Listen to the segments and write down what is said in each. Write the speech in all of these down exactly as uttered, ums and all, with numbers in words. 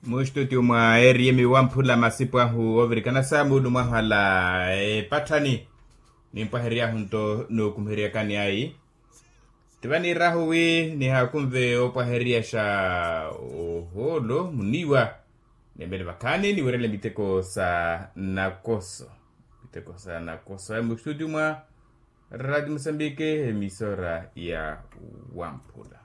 Mustutio mwa eriyemi wamphula masipu ahu ovirikana sa muulu mwahu ala epatthani nimpwahery'ahu nto nookumiheryakani ayi. Tivaniirahu wi nihaakunve opwaheryaxa ohoolo muniiwa. Nembele vakhaani niwerele miteko sa nakoso. Miteko sa nakoso aya mustutio mwa rati musambike emisora ya wamphula.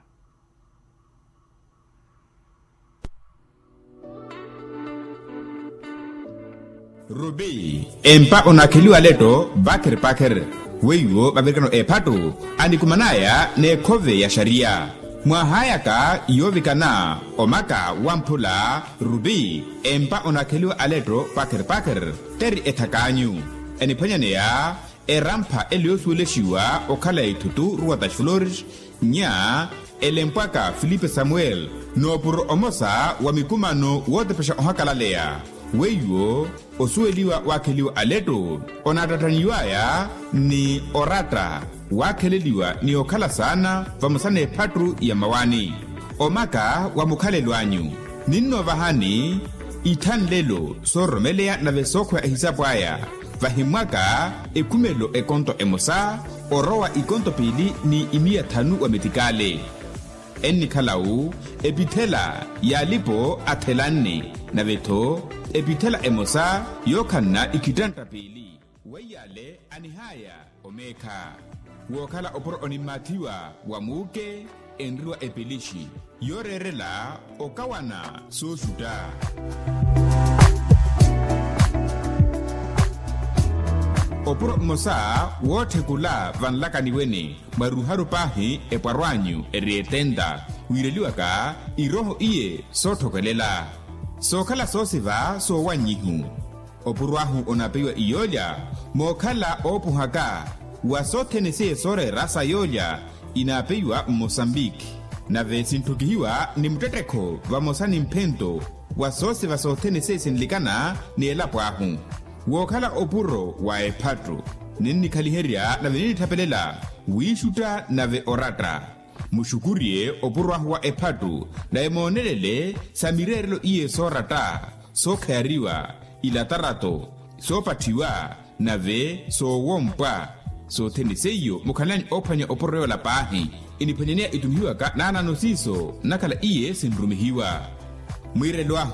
Rupi empa onaakheliwa aletto pakheri pakheri. Weiwo mavirikano eephattu anikuman'aya n'ekhove ya xariya. Mwahaayaka yoovikana omaka wamphula rupi empa onaakheliwa aletto pakheri pakheri. Teri ethak'anyu eniphwanyaneya erampha ele yoosuwelexiwa okhala ithutu ruwa ta xiflores. Nya elempwaka filipe samuel noopuro omosa wa mikumano wootepexa ohakalaleya. Weiwo osuweliwa waakheliwa aletto onaattattaniw'aya ni oratta waakheleliwa ni okhala saana vamosa n'ephattu ya mmawaani. Omaka wa mukhalelo anyu ninnoovahani ithanlelo soororomeleya nave sookhweya ehisapu aya. Vahimmwaka ekhumelo ekonto emosa orowa ikonto piili ni imiya thanu wa metikale. Ennikhala-wu epithela y'alipo athelanne nave-tho epithela emosa yookhanna ikhittantta piili. Weiy'ale anihaya omeekha wookhala opuro onimmaathiwa wa muuke enriwa epilixi yooreerela okawana sooxutta. Opuro mmosa wootthekula vanlakaniweni mwa ruharu paahi epwarw'anyu eri etenta wiireliwaka irooho iye sootthokelela sookhala soosiva soowannyihu. Opuro ahu onaapeiwa iyoolya mookhala oopuhaka wa sothene seiye sooreera sa yoolya inaapeiwa mmosambiki. Nave sintthukihiwa ni muttettekho vamosa ni mphento wa soosiva sothene seiye sinlikana ni elapo ahu wookhala opuro wa ephattu. Ninnikhaliherya nave ninnithapelela wiixutta nave oratta. Muxukuriye opuro ahu wa ephattu nave moonelele sa mireerelo iye sooratta sookhayariwa ilatarato soopatthiwa nave soowompwa. Sothene seiyo mukhalani oophwanya opuro yoola paahi eniphwanyaneya itumihiwaka naanano siiso nnakhala iye sinrumihiwa. Mwiirelo ahu